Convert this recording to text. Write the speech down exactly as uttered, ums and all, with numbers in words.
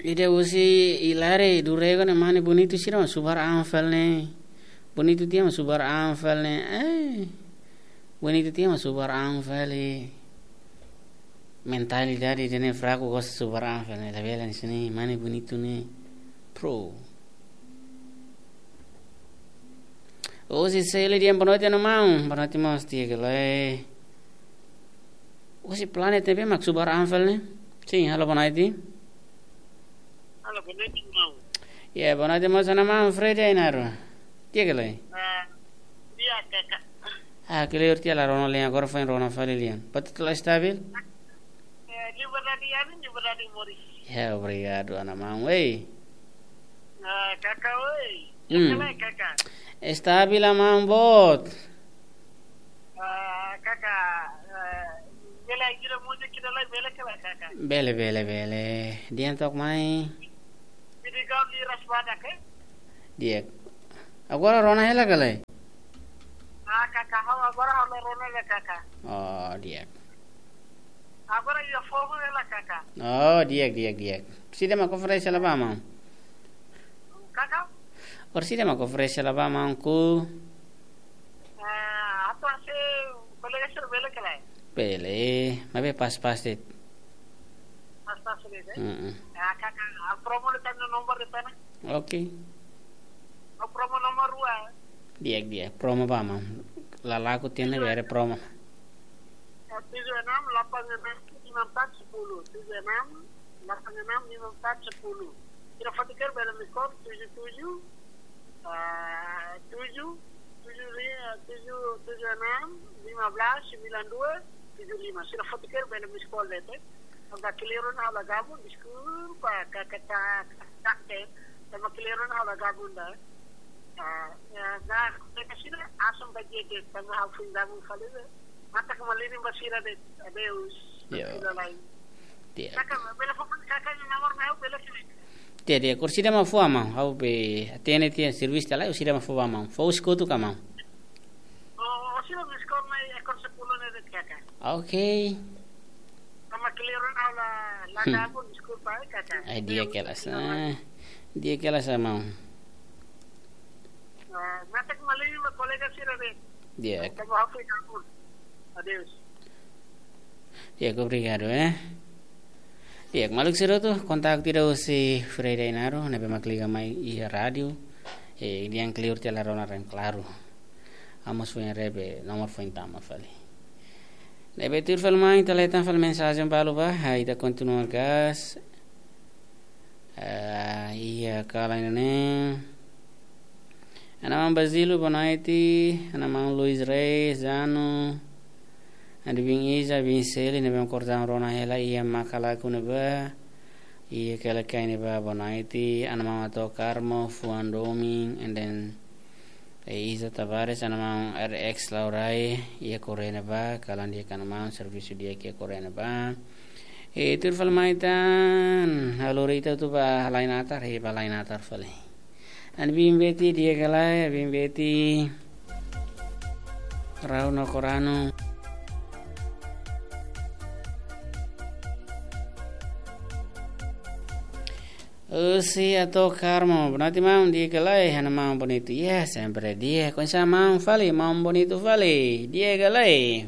Ida husi Ilare, Durego ne'e mane Bonitu sira mak subar an fali ne'e. Bonitu tiha mak subar an fali ne'e. Eh. Bonitu tiha mak subar an fali. Mentalidade ida-ne'e fraku, gosta subar an fali ne'e. Labele hanesan ne'e, mane Bonitu ne'e. Pro. Husi Seli dehan boa noite, maun. Boa noite, maun, di'ak ka lae. Husi Planet T V mak subar an fali ne'e. Sin, halo boa noite. Halo, boa noite, maun. Ya, boa noite, maun, hanesan maun Freddy Ainaro. Di'ak ka lae. Ah, di'ak, kaka. Ah, clear tiha, la rona lian, agora foin rona fali lian. Batidu la estabil? Eh, liberdade, ya, liberdade moris. Ya, obrigadu, hanesan maun. Ei. Ah, kaka, oi. Hmm. Kaka, kaka. Estabil, maun boot. Ah, kaka, eh, bele gira múzika ida lai, bele ka lae, kaka? Bele, bele, bele. Dehan took mai. Bidi gaun di raspada ke? Di'ak. Agora rona hela ka lae? Ah, kaka, ha'u agora ha'u la rona hela, kaka. Oh, di'ak. Agora iha foho hela, kaka. Oh, di'ak, di'ak, di'ak. Orsida mak oferese hela ba maun? Kaka? Orsida mak oferese hela ba maun ku? Ah, atu hanesan kolega sira bele ka lae? Bele, maibé pas-pas de'it. Pas-pas de'it, eh? Mm-mm. Ah, kaka, ah, promo de'it, tau nomor de'it ona. Oke. Oh, promo nomor rua. Di'ak, di'ak. Promo ba maun. Lalaku tiha ne'e bele promo. Ah, tujuh enam delapan enam lima empat sepuluh. Tujuh enam delapan enam lima empat sepuluh. Sira fatikir bele miss call, tujuh tujuh, ah, tujuh, tujuh li-, ah, tujuh, tujuh enam lima belas sembilan dua tujuh lima. Sira fatikir bele miss call de'it. Tanba clear ona ha'u la gabung, deskulpa, kaka, ta, ta, te. Tanba clear ona ha'u la gabung ida. Ah, ya, na, kaka sira, asan ba di'ak de'it, tanba ha'u foin gabung fali de'it. Matak malirin ba sira de'it. Adeus. Yo. Sira lain. Di'ak. Kaka, bele fó kaka nia nomor mai ha'u, bele ka lae? Di'ak, di'ak. Orsida mak fó ba maun. Ha'u be hatene tiha servisu tiha lai, orsida mak fó ba maun. Fó husi kotuk ka maun? Oh, orsida miss call mai ekor sepuluh ne'e de'it, kaka. Oke. Tanba clear ona ha'u la, la Hmm. gabung, deskulpa, eh, kaka. Ai, di'ak ka lae, ah. Di'ak ka lae, maun. Ah, matak malirin ba kolega sira de'it. Di'ak. Tanba ha'u foin gabung. Adeus. Di'ak, obrigadu, eh. Di'ak, maluk sira hotu, kontaktu ida husi Freddy Ainaro, ne'ebé mak liga mai iha rádiu. Eh, dehan clear tiha, la rona reen klaru. Amu foin haree be, nomor foin tama fali. Ne'ebé tuir fali mai, ita leta fali mensajen balu ba, ah, ita kontinua gas. Ah, iha kalan ida-ne'e. Hanesan maun Basílio, boa noite. Hanesan maun Luis Reis, Zano. Adibin Iza, bin Seli, ne'ebé mak kordaun rona hela iha Makalaku ne'ebá. Iha Kelekai ne'ebá, boa noite. Hanesan maun Ato Carmo, Fuan Doming, and then E Isa Tavares, hanesan maun R X Laurai, iha Korea ne'ebá, kalan di'ak hanesan maun, servisu di'ak iha Korea ne'ebá. E tuir fali mai tan, halo rita tu ba lai natar, he ba lai natar fali. Hanesan bin Beti, di'ak ka lae, bin Beti. Rau no korano. Husi Ato Carmo, boa noite maun, di'ak ka lae, hanesan maun Bonitu. Ya, sempre di'ak, oinsá maun fali, maun Bonitu fali, di'ak ka lae.